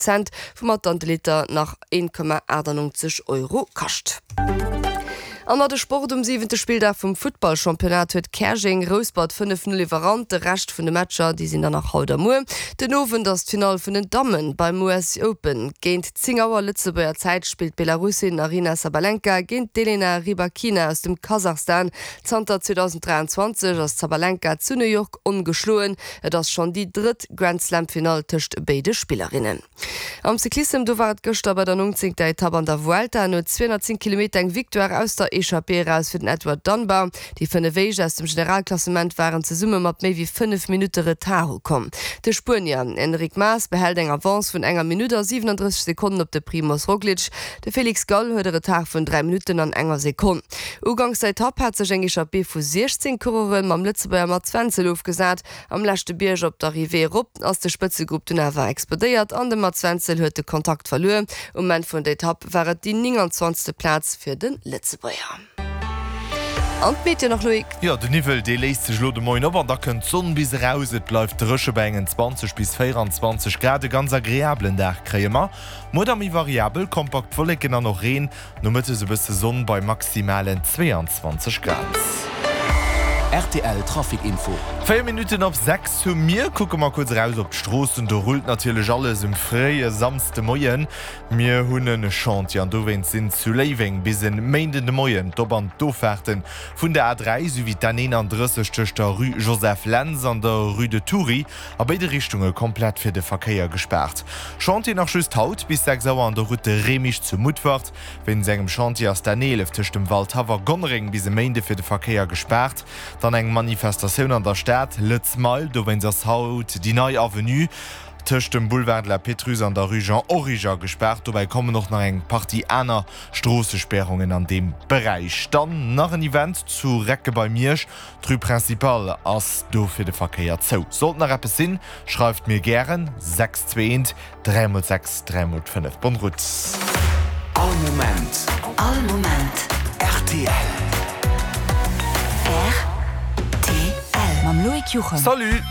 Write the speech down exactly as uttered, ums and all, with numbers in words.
Cent, woumat dann de Liter nach een Komma achtannonzeg Euro kascht. An nach de Sport, Um siwente Spilldag vum Futtballchampionnat huet Käerjeng Rouspert fënnef Null iwwerrannt. De Rescht vun de Matcher, déi sinn dann nach haut a muer. Den Owend ass d'Finall vun den Dammen beim U S Open. Géint zéng Auer Lëtzebuerger Zäit spillt d'Belarussin Aryna Sabalenka géint d'Elena Rybakina aus dem Kasachstan. Zanter zweedausenddräianzwanzeg ass d'Sabalenka zu New York ongeschloen. Et ass schonn déi drëtt Grand-Slam-Finall tëscht béide Spillerinnen. Am Cyclissem, do war et gëschter bei der nongzéngter Etapp an der Vuelta no zweehonnertzéng Kilometer eng Victoire aus der Echappée eraus fir den Edward Dunbar. Déi fënnef Éischt aus dem Generalklassement waren zesumme mat méi wéi fënnef Minutte Retard ukomm. De Spuenier Enric Mas behält eng Avance vun enger Minutt a siwenandrësseg Sekonnen op de Primoz Roglic. De Felix Gall huet e Retard vun dräi Minutten an enger Sekonn. Uganks der Etapp hat sech eng Echappée vu siechzéng Coureure mam Lëtzebuerger Mats Wenzel ofgesat. Am leschte Bierg op d'Arrivée erop ass de Spëtzegrupp dunn awer explodéiert an de Mats Wenzel huet de Kontakt verluer. Um Enn vun der Etapp war et déi nénganzwanzegste Plaz fir de Lëtzebuerger. An d'Meteo nach, Loïc? Jo, den Niwwel dee léist sech elo de Moien op an da kënnt d'Sonn bis eraus. Et bleift dréche bei engen zwanzeg bis véieranzwanzeg Grad. E ganz agreabelen Dag kréie mer. Muer da méi variabel, kompakt Wolleken an och Reen. Nomëttes e bësse Sonn bei maximalen zweeanzwanzeg Grad. Rtl Trafic Info. Véier Minutten op sechs hu mir. Kucke mer kuerz eraus op d'Stroossen. Do rullt natierlech alles um fréie Samsdemoien. Mir hunn e Chantier an dowéinst sinn zu Léiweng bis e Méinden de Moien d'Op an d'Offaarte vun der A dräi souwéi d'N eenandrësseg tëscht der Rue Joseph Lentz an der Rue de Thury a béide Richtunge komplett fir de Verkéier gespaart. Chantier nach just haut bis sechs Auer an der Route de Remich zu Mutfert. Wéinst engem Chantier ass d'N eelef tëscht dem Waldhaff a Gonnereng bis e Méinde fir de Verkéier gespaart. Dann eng Manifestatioun an der Stad, Lëtz Mile, dowéinst ass haut déi nei Avenue tëscht dem Boulevard de la Pétrusse an der Rue Jean Origer gespaart. Dobäi kommen och nach eng Partie aner Stroossespäerungen an deem Beräich. Dann nach en Event zu Recke bei Miersch, d'Rue Principale ass do fir de Verkéier zou. Sollt nach eppes sinn, schreift mir gären, sechs zwee eent dräi mol sechs dräi mol fënnef. Bonne route. All Moment. All Moment. Rtl. Rtl. Mam Loïc Juchem. Salut!